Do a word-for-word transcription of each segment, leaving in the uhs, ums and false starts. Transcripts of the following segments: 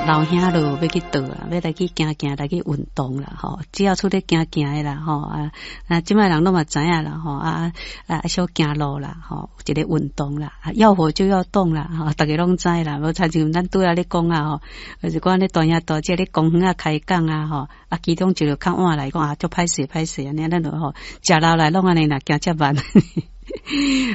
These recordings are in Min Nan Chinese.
老兄囉欲去佗啦，欲來去行行，來去運動啦，吼！只要出咧行行的啦，吼啊啊！這擺人攏嘛知影啦，吼啊啊！小行路啦，吼，一个運動啦，要活就要動啦，吼，逐家攏知啦。無親像咱拄仔咧講啊，吼，就是講咧大兄大姐咧公園仔開講啊，吼啊，其中一個較晚來講啊，足歹勢歹勢按呢，咱就吼食老來攏按呢啦，行遮慢。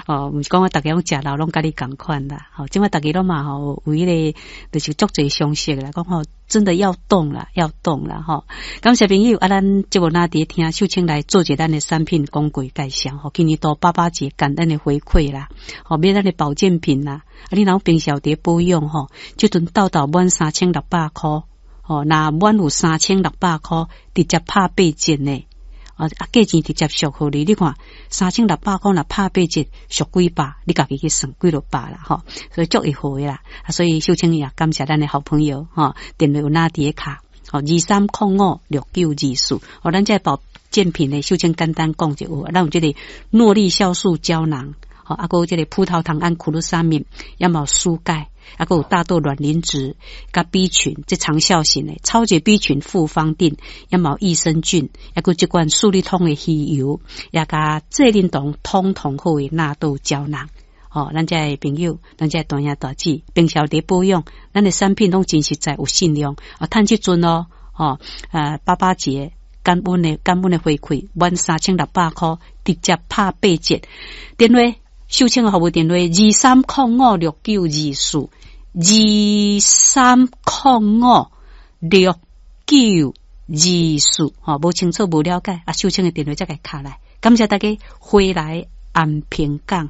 哦，毋是講我逐家攏食老攏佮你仝款啦，吼，這擺逐家攏嘛吼有彼个就是足濟常識啦，講吼真的要動啦，要動啦，吼。感謝朋友啊，咱節目哪佇聽秀清來做一咱的產品廣告介紹，吼，今年度爸爸節感恩的回饋啦，吼，買咱的保健品啦，啊，你若平常佇保養吼，這陣沓沓滿三千六百箍，吼，若滿有三千六百箍，直接拍八折呢。啊啊！價錢直接俗予你，你看三千六百箍若拍八折，俗幾百，你家己去算幾落百啦，吼！所以足會好啦。啊，所以秀清也感謝咱的好朋友，吼，電話有哪佇咧卡，吼，二三空五六九二四。哦，咱這保健品呢，秀清簡單講就有，咱有這個諾麗酵素膠囊，吼，啊，閣有這個葡萄糖胺苦魯沙敏，也嘛有舒鈣。啊，閣有大豆卵磷脂，佮 B 群，這長效型的超級 B 群複方錠，也嘛有益生菌，抑閣這款舒利通的魚油，也佮濟啉酮通通好的納豆膠囊。吼，咱這的朋友，咱這大兄大姊，平常佇保養，咱的產品攏真實在有信量啊，趁這陣哦，吼，啊，爸爸節感恩的感恩的回饋，滿三千六百箍，直接拍八折。電話秀清的服務電話二三空五六九二四。二三空五六九二四，吼，無清楚無了解，啊，秀清的電話才共敲來。感謝大家回來安平港。